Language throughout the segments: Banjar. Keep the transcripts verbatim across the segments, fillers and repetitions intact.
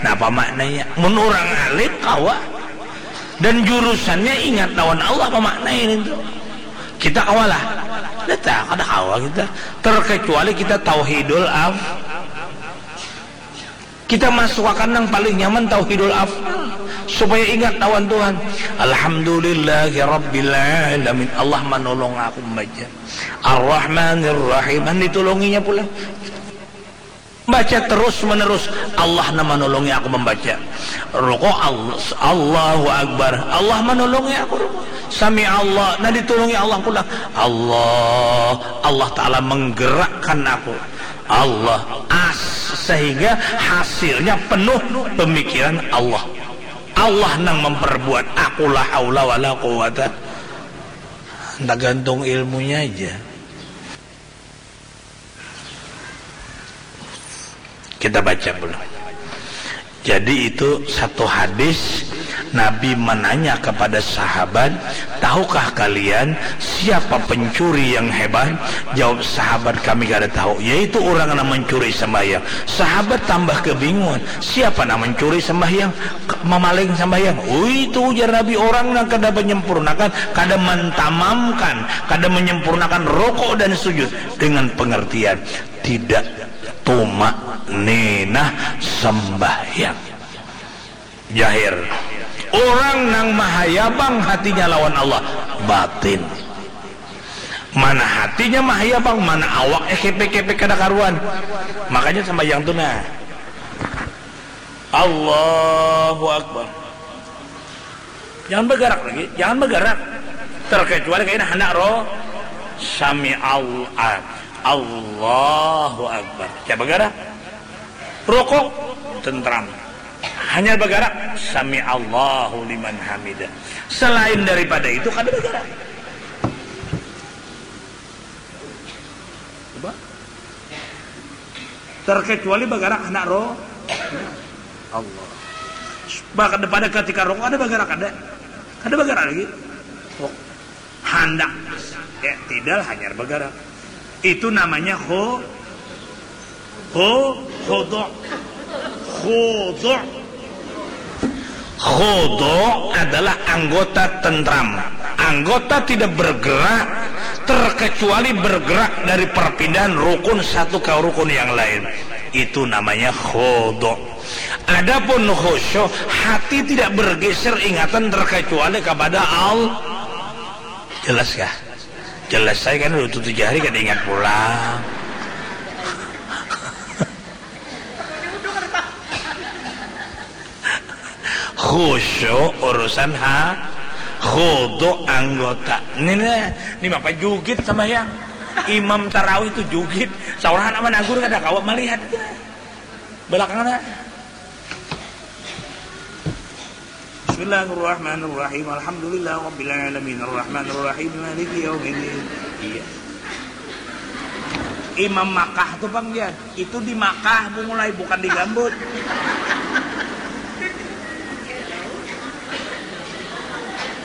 Napa maknanya? Mun urang alim kawa. Dan jurusannya ingat lawan Allah, apa maknanya itu? Kita kawa lah. Kita kada kawa kita. Terkecuali kita tauhidul af. Kita masuk akan yang paling nyaman tauhidul af. Supaya ingat lawan Tuhan. Alhamdulillahirabbil alamin. Allah manolong aku membaca. Ar-Rahmanir Rahim. Ditulunginya pula. Baca terus menerus, Allah nang manolongi aku membaca. Rukuk, Allah, Allahu Akbar, Allah manolongi aku rukuk. Sami Allah, nah ditulungi Allah pula. Allah, Allah Ta'ala menggerakkan aku. Allah as sehingga hasilnya penuh pemikiran Allah. Allah nang memperbuat aku, la haula wala quwata. Tergantung ilmunya aja. Kita baca dulu. Jadi itu satu hadis, Nabi menanya kepada sahabat, "Tahukah kalian siapa pencuri yang hebat?" Jawab sahabat, "Kami kada tahu." "Yaitu orang yang mencuri sembahyang." Sahabat tambah kebingungan, "Siapa yang mencuri sembahyang? Memaling sembahyang?" "Oh, itu," ujar Nabi, "orang yang kada menyempurnakan, kada mentamamkan, kada menyempurnakan rukuk dan sujud." Dengan pengertian tidak tumak ninah sembahyang. Jahir. Orang nang mahayabang hatinya lawan Allah, batin. Mana hatinya mahayabang, mana awaknya kepek-kepek kada karuan. Makanya sembahyang tu nah. Allahu Akbar. Jangan bergerak lagi, jangan bergerak. Terkecuali kaina handak roh, sami Allah, Allahu Akbar. Jangan bergerak. Rukuk, tentram. Hanya bergerak, sami Allahu liman hamidah. Selain daripada itu kada bergerak. Coba. Terkecuali bagarak handak roh Allah. Bahkan pada ketika roh ada bagarak ada. Ada bagarak lagi. Oh. Handak. Ya, tidak hanya bagarak. Itu namanya ho ho hodo. Hodo. Khudu' adalah anggota tentram. Anggota tidak bergerak terkecuali bergerak dari perpindahan rukun satu ke rukun yang lain. Itu namanya khudu'. Adapun khusyuk, hati tidak bergeser ingatan terkecuali kepada Allah. Jelas kah? Jelas saya kan udah tujuh hari kada ingat pulang. Khusyuk urusan ha, khudu' anggota. Ini nih, ini apa jugit sembahyang? Imam tarawih itu jugit. Saurang anak managur kada kawa melihat. Belakangnya. Bismillahirrahmanirrahim. Alhamdulillah rabbil alamin. Arrahmanirrahim. Maliki yaumiddin. Iya. Imam Makkah tuh, Bang, ya. Itu di Makkah bu mulai, bukan di Gambut.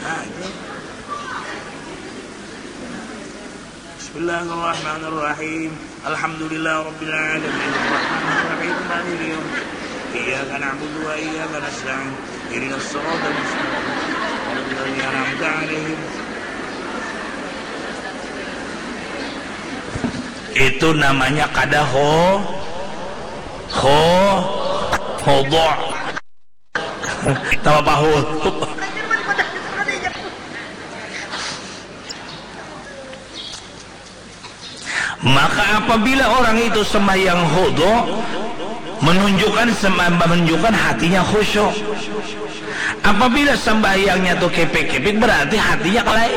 Nah, itu. Bismillahirrahmanirrahim. Alhamdulillah rabbil alamin. Arrahmanirrahim. Maliki yaum. Iyyaka na'budu wa iyyaka nasta'in. Ihdinas siratal mustaqim. Siratal ladzina an'amta 'alaihim. Itu namanya kada ho ho hodo. Tawa pahu. Maka apabila orang itu sembahyang khudu, menunjukkan semba- menunjukkan hatinya khusyuk. Apabila sembahyangnya tuh kepek-kepek, berarti hatinya kalai.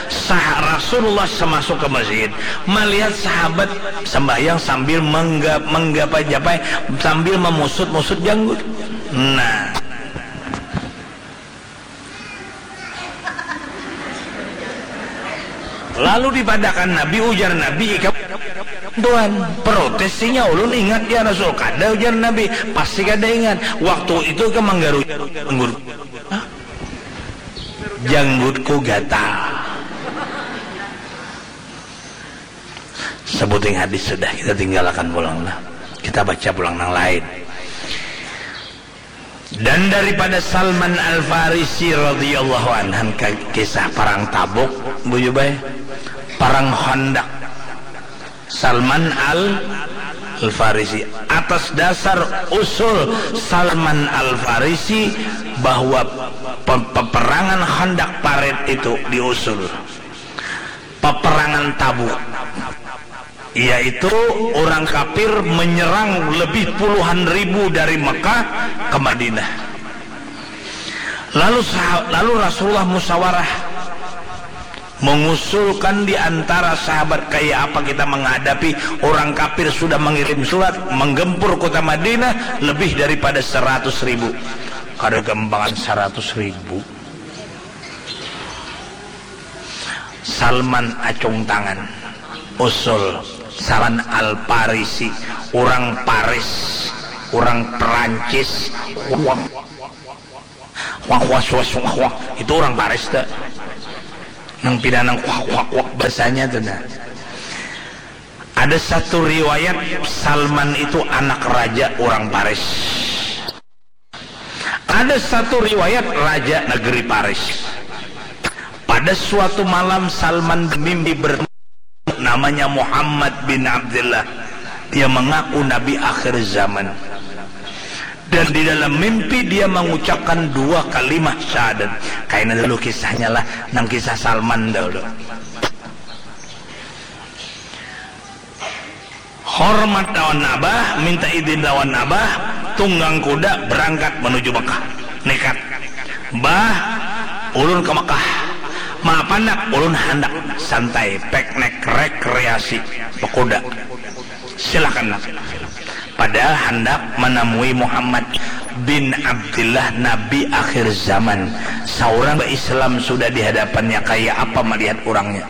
Sah Rasulullah semasuk ke masjid, melihat sahabat sembahyang sambil mengga- menggapai-japai, sambil memusut-musut janggut. Nah, lalu dipadakan Nabi, ujar Nabi, "Ikam Tuhan." Protes sinya, "Ulun ingat ya Rasul." "Kada," ujar Nabi, "pasti kada ingat. Waktu itu ikam manggaru janggut." "Hah? Janggutku gatal." Sebuting hadis sudah, kita tinggalkan pulang lah. Kita baca pulang nang lain. Dan daripada Salman Al-Farisi radhiyallahu anhu, kisah perang Tabuk, bujur bae. Perang Khandaq. Salman Al Al-Farisi. Atas dasar usul Salman Al-Farisi bahwa pe- peperangan Khandaq parit itu diusul. Peperangan Tabuk, yaitu orang kafir menyerang lebih puluhan ribu dari Mekah ke Madinah. Lalu sah- lalu Rasulullah musyawarah, mengusulkan di antara sahabat, kayak apa kita menghadapi orang kafir sudah mengirim surat menggempur kota Madinah lebih daripada seratus ribu. Kada gampangan seratus ribu. Salman acung tangan. Usul Salman Al-Parisi, orang Paris, orang Perancis. Wah, wah, wah, wah, wah. Itu orang Paris tak? Nang pina nang wah, wah, wah, bahasanya tu nah. Ada satu riwayat Salman itu anak raja orang Paris. Ada satu riwayat raja negeri Paris. Pada suatu malam Salman bermimpi bertemu namanya Muhammad bin Abdullah. Dia mengaku nabi akhir zaman. Dan di dalam mimpi dia mengucapkan dua kalimah syahadat. Kaina dulu kisahnya lah, nang kisah Salman dahulu. Hormat lawan abah, minta idin lawan abah, tunggang kuda berangkat menuju Mekah. Nekat. Bah, ulun ke Mekah. Maaf anak, ulun handak santai, piknik, rekreasi, bekuda. Silakan nak. Padahal handak menemui Muhammad bin Abdullah, nabi akhir zaman. Seorang Islam sudah di hadapannya, kayak apa melihat orangnya?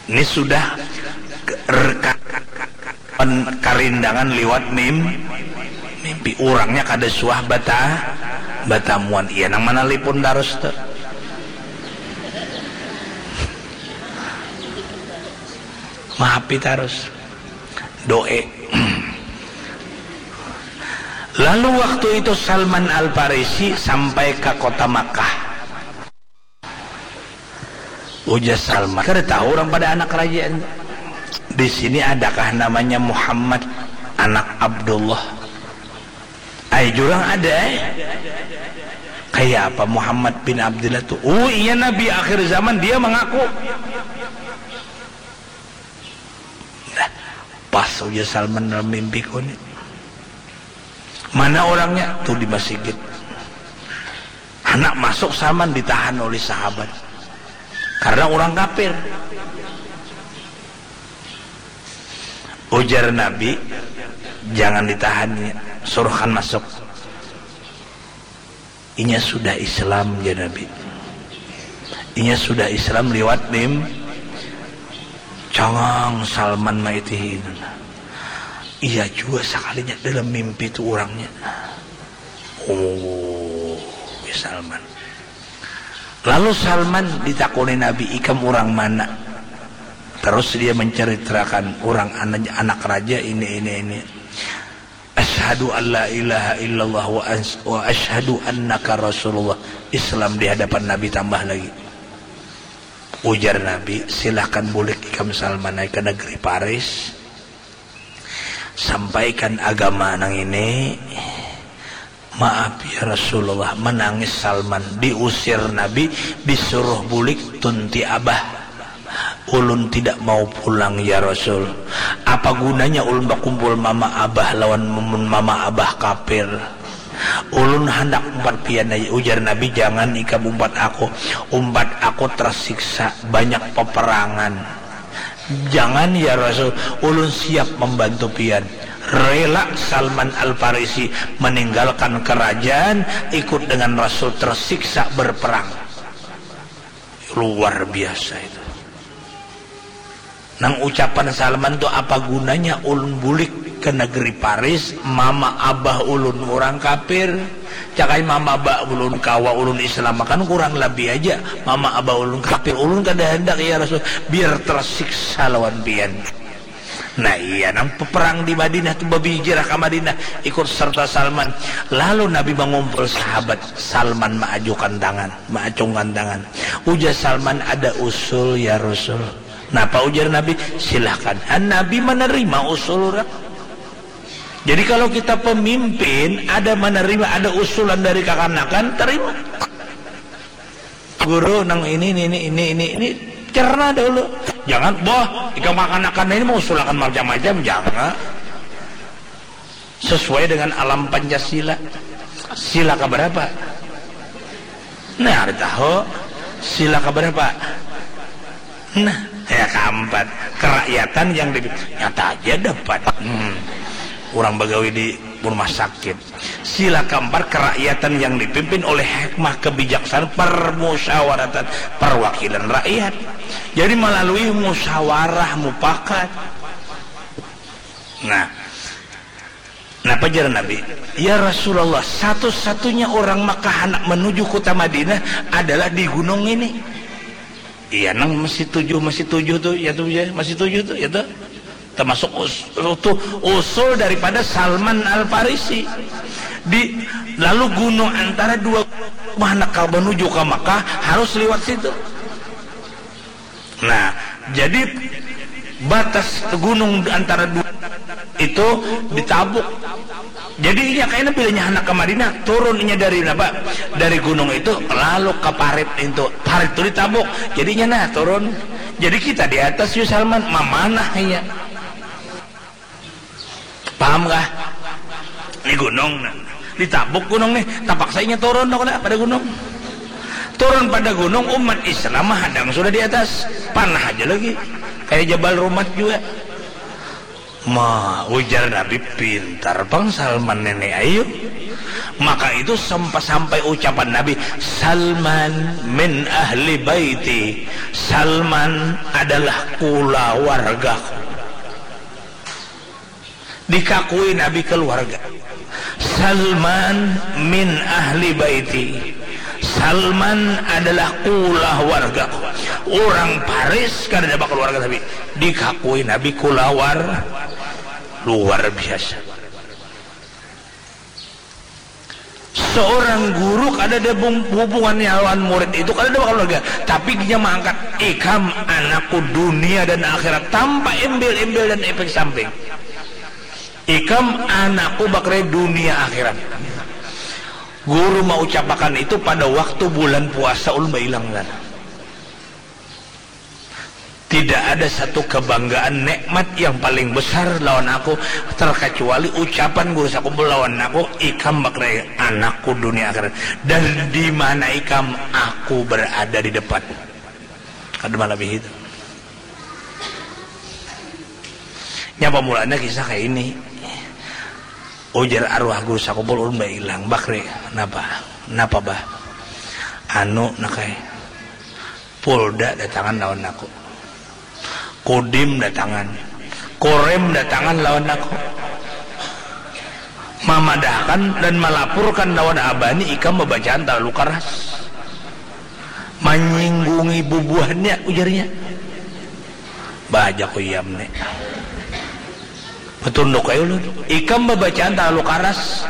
Ini sudah ke- reka- karindangan liwat mim mimpi. Orangnya kada suah bata batamuan. Iya nang manalipun tarus tu. Mahapi tarus. Doe. Lalu waktu itu Salman Al-Farisi sampai ke kota Makkah. Ujar Salman, kada tahu orang pada anak kerajaan. Di sini adakah namanya Muhammad anak Abdullah? Ai jurang ada eh. Kayak apa Muhammad bin Abdullah tuh? Oh iya, nabi akhir zaman, dia mengaku. Nah, pas ujar Salman dalam mimpiku nih. Mana orangnya? Tuh di masjid. Anak masuk Salman ditahan oleh sahabat karena orang kafir. Ujar Nabi, jangan ditahan, suruhkan masuk. Inya sudah Islam, jar Nabi. Inya sudah Islam liwat mim. Cangang Salman maitihi. Iya juga sekalinya dalam mimpi tu orangnya. Oh, Salman. Lalu Salman ditakuni Nabi, ikam orang mana? Terus dia menceritakan orang anak, anak raja ini, ini, ini. Asyhadu an la ilaha illallah wa, wa asyhadu annaka rasulullah. Islam di hadapan Nabi tambah lagi. Ujar Nabi, silahkan bulik ikam Salman ke negeri Paris. Sampaikan agama nang ini. Maaf ya Rasulullah, menangis Salman, diusir Nabi, disuruh bulik, tunti abah. Ulun tidak mau pulang ya Rasul. Apa gunanya ulun bakumpul mama abah lawan mun mama abah kafir. Ulun handak umpat pian aja, ujar Nabi, jangan ikam umpat aku. Umpat aku tersiksa, banyak peperangan. Jangan ya Rasul, ulun siap membantu pian. Rela Salman Al-Farisi meninggalkan kerajaan, ikut dengan Rasul tersiksa berperang. Luar biasa itu. Nang ucapan Salman tu, apa gunanya ulun bulik ke negeri Paris, mama abah ulun orang kafir. Cakai mama abah ulun kawa ulun Islam akan kurang lebih aja. Mama abah ulun kafir, ulun kada hendak ya Rasul, biar tersiksa lawan pian. Nah iya, nang peperang di Madinah tu, babijirah ka Madinah ikut serta Salman. Lalu Nabi mangumpul sahabat, Salman maajukan tangan, maacungkan tangan. Ujar Salman, "Ada usul ya Rasul." "Napa?" ujar Nabi. "Silahkan." Han Nabi menerima usul urang. Jadi kalau kita pemimpin, ada menerima, ada usulan dari kakanakan, terima. Guru, nang ini, ini, ini, ini, ini, ini, cerna dahulu. Jangan, "Boh, ikam kakanakan ini mausulakan macam-macam." Jangan. Sesuai dengan alam Pancasila. Sila keberapa? Nah, ada tahu. Sila keberapa? Nah, ya, keempat. Kerakyatan yang di, nyata aja dapat. Hmm. Orang bagawi di rumah sakit. Sila keempat, kerakyatan yang dipimpin oleh hikmah, kebijaksanaan, permusyawaratan, perwakilan rakyat. Jadi melalui musyawarah mufakat. Nah, napa jar Nabi? "Ya Rasulullah, satu-satunya orang Makkah handak menuju kota Madinah adalah di gunung ini." Iya, nang masih tujuh, masih tujuh tu, ya tu, ya, masih tujuh tu, ya tu. Termasuk us-, tu usul daripada Salman Al-Farisi. Di, lalu gunung antara dua, mana kau menuju ke Makkah, harus lewat situ. Nah, jadi batas gunung antara dua itu ditabuk. Jadi inya kayaknya bilanya handak ke Madinah, turun inya dari apa? Dari gunung itu, lalu ke parit itu. Parit itu ditabuk. Jadi inya nah turun. Jadi kita di atas, yu Salman, mamanah inya. Paham kah? Ini gunung, nah. Ditabuk gunung nih, tapaksa inya turun, tahu kena, pada gunung. Turun pada gunung, umat Islam mah hadang sudah di atas. Panah aja lagi. Kayak Jabal Rumat juga. Ma, ujar Nabi, "Pintar pang Salman nene, ayu." Maka itu sempa-, sampai ucapan Nabi, "Salman min ahli baiti." Salman adalah kulawargaku. Dikakui Nabi keluarga. "Salman min ahli baiti." Salman adalah kulawargaku. Orang Paris kada ada keluarga, tapi dikakui Nabi kulawar, luar biasa. Seorang guru kada ada bung-, hubungannya lawan murid itu, kada ada keluarga, tapi dia mengangkat, "Ikam anakku dunia dan akhirat," tanpa embel-embel dan efek samping. "Ikam anakku bakre dunia akhirat." Guru maucapakan itu pada waktu bulan puasa ulun bailang sana. Tidak ada satu kebanggaan, nikmat yang paling besar lawan aku, terkecuali ucapan guru sakumpul lawan aku, "Ikam bakre anakku dunia akhirat. Dan di mana ikam, aku berada di depan." Kada melebihi itu. Nya pamulaannya kisah kayak ini. Ujar arwah guru sakumpul, ulun bailang, "Bakri, napa? Napa, Bah?" "Anu, nak ai, Polda datangan lawan aku. Kodim datangan. Korem datangan lawan aku. Mamadahkan dan malapurkan lawan abah ni ikam babacaan talalu karas. Manyinggungi bubuhannya," ujarnya. Bah, jar ku, "Iam ni." Batunduk ai ulun. "Ikam babacaan talalu karas."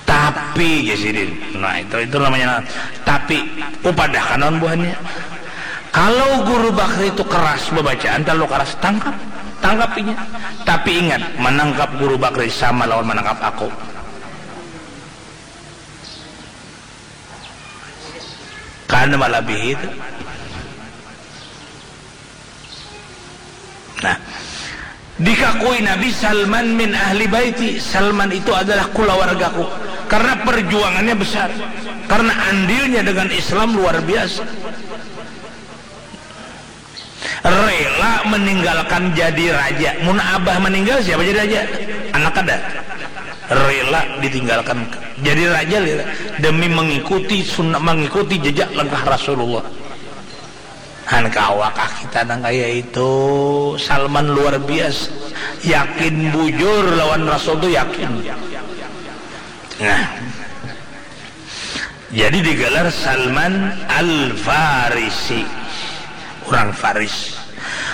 "Tapi," jar sidin. Nah, itu, itu namanya. "Tapi, kupadahkan lawan buhannya. Kalau Guru Bakri itu keras babacaan, talalu keras, tangkap. Tangkap inya. Tapi ingat, manangkap Guru Bakri sama lawan manangkap aku." Kada melebihi itu. Nah, dikakui Nabi, "Salman min ahli baiti." Salman itu adalah kulawargaku. Karena perjuangannya besar. Karena andilnya dengan Islam luar biasa. Rela meninggalkan jadi raja. Mun abah meninggal, siapa jadi raja? Anak kada. Rela ditinggalkan jadi raja, rela. Demi mengikuti sunnah, mengikuti jejak langkah Rasulullah. Han, kawakah kita nang kaya itu? Salman luar biasa. Yakin bujur lawan Rasul tu, yakin. Nah. Jadi digelar Salman Al-Farisi. Orang Faris.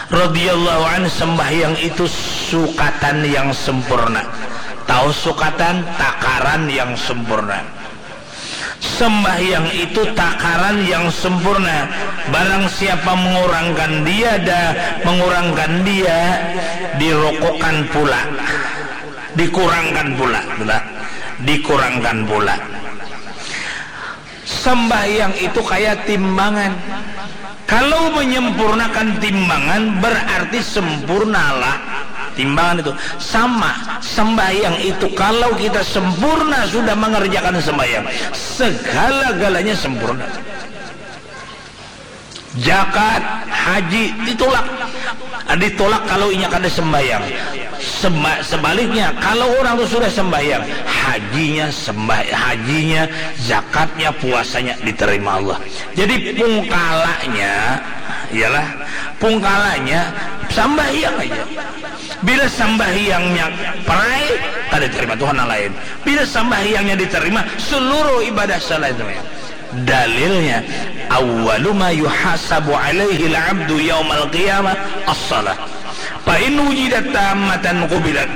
radhiyallahu anhu, sembahyang itu sukatan yang sempurna. Tahu sukatan? Takaran yang sempurna. Sembahyang itu takaran yang sempurna. Barang siapa mengurangkan dia, da, mengurangkan dia, dirokokkan pula. Dikurangkan pula, betul? Dikurangkan pula. Sembahyang itu kayak timbangan. Kalau menyempurnakan timbangan, berarti sempurnalah timbangan itu. Sama, sembahyang itu, kalau kita sempurna sudah mengerjakan sembahyang, segala-galanya sempurna. Zakat, haji, ditolak. Ditolak kalau inya kada sembahyang. Seba-, sebaliknya, kalau orang tu sudah sembahyang, hajinya sembah-, hajinya, zakatnya, puasanya diterima Allah. Jadi pungkalanya, ialah, pungkalanya sambahyang aja. Bila sambahyangnya perai, kada diterima Tuhan yang lain. Bila sambahyangnya diterima, seluruh ibadah selain sembahyang. Dalilnya, awwalu ma yuhasabu alaihi al-abdu yaumal qiyamah as-salah. Fa in wujidat tammatan qubilat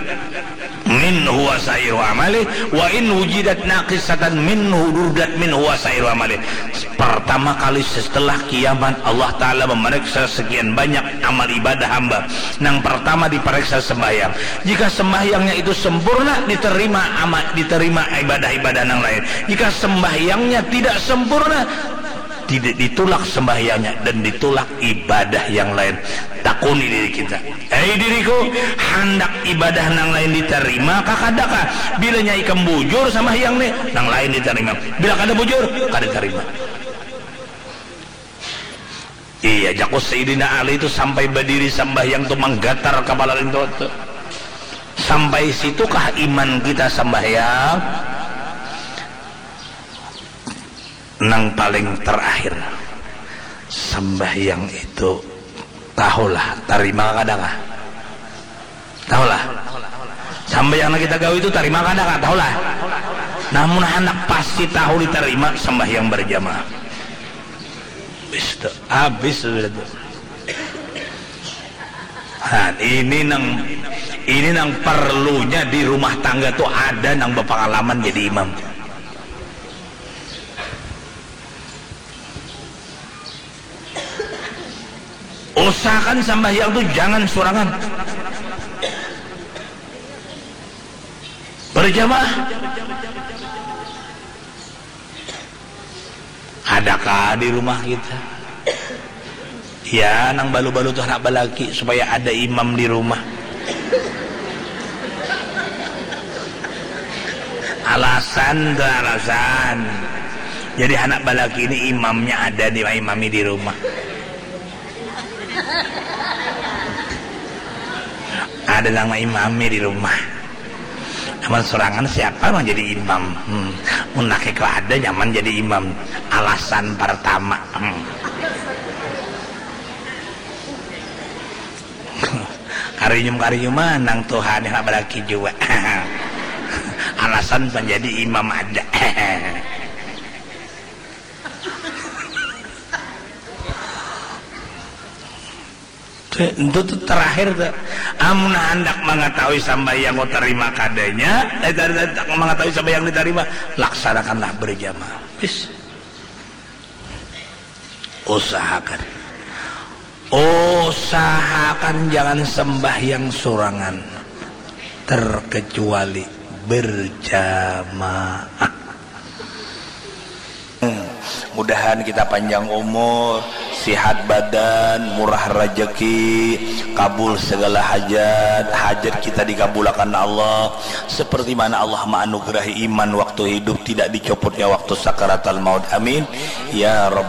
minhu wa sairu amali, wa in wujidat naqisatan minhu rudat minhu wa sairu amali. Pertama kali setelah kiamat, Allah Ta'ala memeriksa sekian banyak amal ibadah hamba. Nang pertama diperiksa sembahyang. Jika sembahyangnya itu sempurna, diterima ama-, diterima ibadah-ibadah nang lain. Jika sembahyangnya tidak sempurna, tidak, ditolak sembahyangnya dan ditolak ibadah yang lain. Takuni diri kita. Hei diriku, handak ibadah nang lain diterima kah kada kah? Bilanya ikam bujur sambahyang nih, nang lain diterima. Bila kada bujur, kada diterima. Iya, jaku Sayyidina Ali itu sampai badiri sambahyang tu manggatar kapala lintu tu. Sampai situkah iman kita sambahyang? Nang paling terakhir, sambahyang itu tahulah, tarima kada kah? Tahulah. Sambahyang nang kita gawi itu tarima kada kah? Tahulah. Namun handak pasti tahu ditarima, sambahyang berjamaah. Habis tu, habis sudah tu. Nah, ini nang, ini nang perlunya di rumah tangga tu ada nang bapangalaman jadi imam. Usahakan sambahyang tu jangan surangan. Berjamaah. Adakah di rumah kita? Ya, nang balu-balu tu handak balaki supaya ada imam di rumah. Alasan tu, alasan. Jadi handak balaki ni imamnya ada, dimaimami di rumah. Ada nang maimami di rumah. Amun surangan siapa nang jadi imam? Hmm. Mun laki kada nyaman jadi imam. Alasan pertama. Hmm. Karinyum-karinyuman nang tuha ni handak balaki jua. Alasan menjadi imam ada. Itu tu terakhir tu. Amun handak mangatahui sambahyang ku tarima kadanya, eh, handak mangatahui sambahyang ditarima, laksanakanlah berjamaah. Wis. Usahakan. Usahakan jangan sembahyang surangan, terkecuali berjamaah. Hmm. Mudahan kita panjang umur, sihat badan, murah rajaki, kabul segala hajat, hajat kita dikabulakan Allah. Seperti mana Allah maanugerahi iman waktu hidup, tidak dicopotnya waktu sakaratal maut. Amin. Ya Rabbal